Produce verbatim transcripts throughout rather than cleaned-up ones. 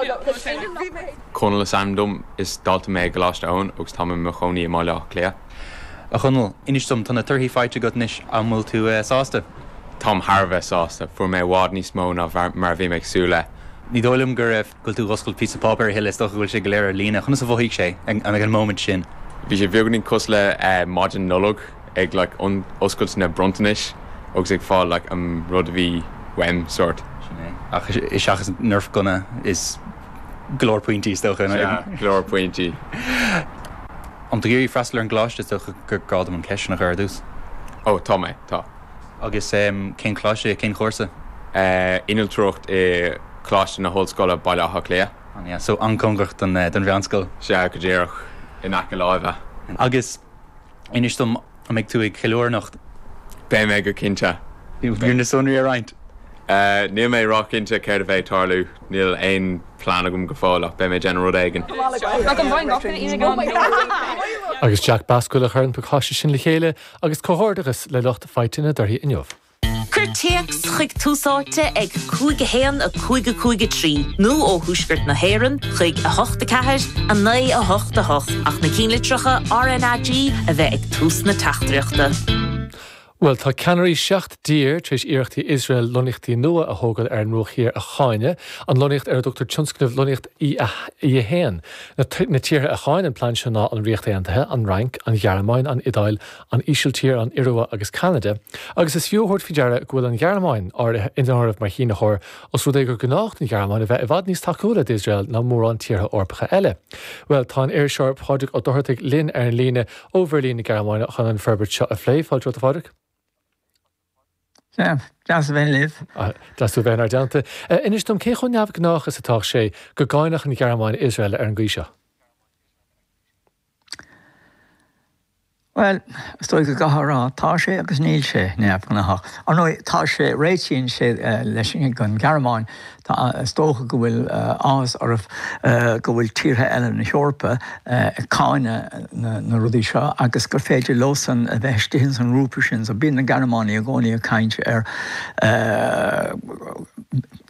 Conall is ainm dom is dalta mé i gColáiste Eoin agus tá mé i mo chónaí i mBaile Átha Cliath. A Chonaill, inis dom tá na torthaí faighte agat anois an bhfuil tú eh, sásta? Táim thar a bheith sásta, fuair mé i bhfad níos mó ná mar a bhí mé ag súil le. Ní dóigh liom go raibh go tú oscailt píosa páipéir a thuilleadh is dócha go bhfuil sé go léir ar líne, conas a mhothaigh sé ag an moment sin. Bhí sé beagáinín cosúil le eh, maidin Nollag ag like, oscailt na bronntanais agus ag fáil like, an rud a bhí uaim sort. Ach is seachas Nerf gunna is go leor pointí is dócha go leor pointí. An tú ag iarraidh freastal ar an gcoláiste is dócha gur gá dom an cheist sin a chur ar dtús. Ó tá mé tá. Agus um, cén choláiste cén chúrsa? Uh, Innealtóireacht i Coláiste na hOllscoile Baile Átha Cliath. An yeah, so an-chóngarach don uh, don mheánscoil. Sea go díreach in aice láimhe. Agus inis dom an mbeidh tú ag ceiliúradh anocht. Beidh mé go cinnte. Bhí na sonraí a roinnt. Uh, níl mé róchinnte céard a bheidh ag tarlú, níl aon plean agam go fóill ach beidh mé ag déanamh rud éigin. Agus Jack Basquill a chuir an pacáiste sin le chéile agus comhghairdeachas le lucht faighte na dtorthaí inniu. Cuir téacs chuig Tús Áite ag cúig a haon a cúig a cúig a trí nó ó Thuaisceart na hÉireann chuig a hocht a ceathair a naoi a hocht a hocht ach na ceannlitreacha RnaG a bheith ag tús na teachtaireachta. Well tá ceannairí seacht dtír tar éis iarrachtaí Iosrael lonnaíochtaí nua a thógáil ar an mBruach Thiar a cháineadh, an lonnaíocht ar a dtugtar tionscnamh lonnaíocht E a haon. Na tíortha a cháin an plean seo ná an Ríocht Aontaithe, an Fhrainc, an Ghearmáin, an Iodáil, an Ísiltír, an Iorua agus Ceanada, agus is fiú a thabhairt faoi deara go bhfuil an Ghearmáin áirithe in áireamh mar shínitheoir os rud é gur gnách don Ghearmáin a bheith i bhfad níos tacúla d'Iosrael ná mórán tíortha Eorpacha eile. Well tá an iriseoir Pádraig Ó Dochartaigh linn ar an líne ó Bheirlín na Gearmáine chun an forbairt seo a phlé fáilte romhat a Phádraig? Deas a bheith libh. Deas tú bheith inár dteannta. Inis dom cé chomh neamhghnách is atá sé go gcáinfeadh an Ghearmáin Iosrael ar an gcaoi seo. Well, is dóigh go gcaithfear a rá, tá sé agus níl sé neamhghnách. Ar ndóigh, tá sé, réitíonn sé leis an Ghearmáin, tá, is dócha go bhfuil áthas orthu go bhfuil tíortha eile na hEorpa ag cáineadh na rudaí seo agus gur féidir leosan a bheith istigh ins an ngrúpa sin. So bíonn na Gearmánaigh i gcónaí ag caint ar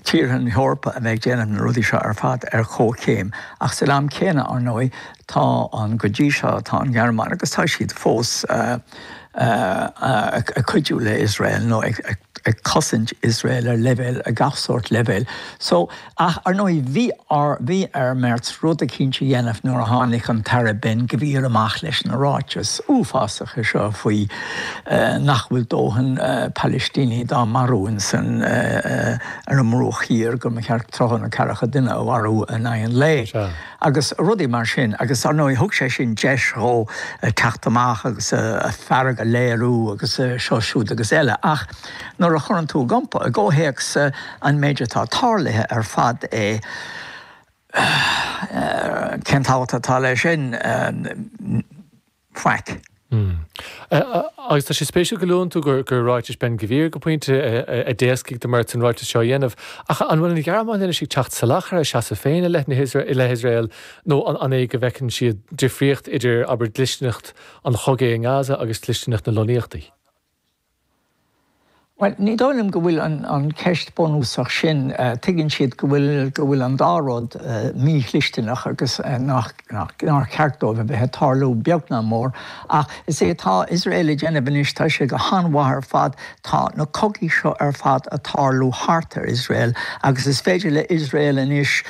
tíortha na hEorpa a bheith ag déanamh na rudaí seo ar fad ar chomhchéim. Ach san am céanna, ar ndóigh, tá an, go dtí seo, tá an Ghearmáin agus tá siad fós ag cuidiú le Iosrael nó ag ag cosaint Iosrael ar leibhéal, ar gach sórt leibhéal. So, ach ar ndóigh bhí ar, bhí ar Merz rud eicínt a dhéanamh nuair a tháinig an tAire Ben Gvir amach leis na ráitis uafásacha seo faoi nach bhfuil dóthain Palaistínigh dá marú insan, ar an mBruach Thiar, go mba cheart tríocha nó ceathracha duine a mharú in aghaidh an lae. Agus rudaí mar sin. Agus ar ndóigh thug sé sin deis dhó teacht amach agus a fearg a léiriú agus seo siúd agus eile. Ach nuair a chuireann tú i gcomhthéacs an méid atá tarlaithe ar fad é, cén tábhacht atá leis sin? Faic. Agus tá sé spéisiúil go luann tú gur gur ráitis Ben Gvir go pointe a d'éascaigh do Merz an ráiteas seo a dhéanamh. Ach an bhfuil an Ghearmáin anois ag teacht salach ar a seasamh féin i leith na i leith Iosrael nó an é go bhfeiceann siad difríocht idir abair dlisteanacht an chogaidh i nGaza agus dlisteanacht na lonnaíochtaí? Bhuel, ní dóigh liom go bhfuil an cheist bunúsach sin. Tuigeann siad go bhfuil go bhfuil an dá rud mídhlisteanach agus nach nár cheart dóibh a bheith ag tarlú, beag ná mór. Ach is é atá Iosrael ag déanamh anois, tá sé go han-mhaith ar fad, tá na cogaí seo ar fad ag tarlú thart ar Iosrael agus is féidir le Iosrael anois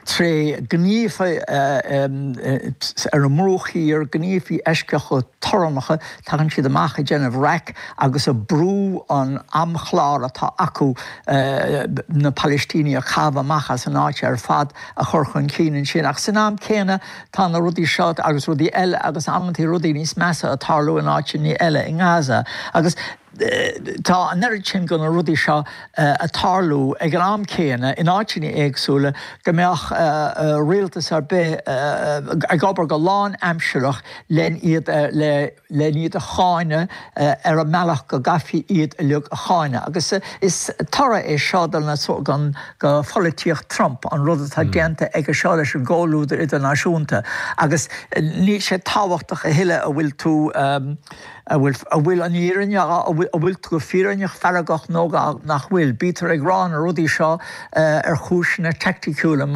tré ghníomhartha ar an mBruach Thiar, gníomhartha eisceacha torannacha, tagann siad amach ag déanamh raic agus ag brú an amchlár atá acu na Palaistínigh a chaitheamh amach as an áit ar fad a chur chun cinn ansin. Ach san am céanna tá na rudaí seo agus rudaí eile agus amantaí rudaí níos measa ag tarlú in áiteanna eile i nGaza. Agus tá an oiread sin de na rudaí seo ag tarlú ag an am céanna in áiteanna éagsúla go mbeadh rialtas ar bith ag obair go lánaimsearach len iad le len iad a cháineadh ar an mbealach go gcaithfí iad uilig a cháineadh. Agus is toradh é seo de pholaitíocht Trump, an rud atá déanta aige seo leis an gcomhluadar idirnáisiúnta. Agus níl sé tábhachtach a thuilleadh a bhfuil tú, a bhfuil an fhírinne, a bhfuil tú go fírinneach feargach nó nach bhfuil, bítear ag rá na rudaí seo ar chúiseanna teicniúla mar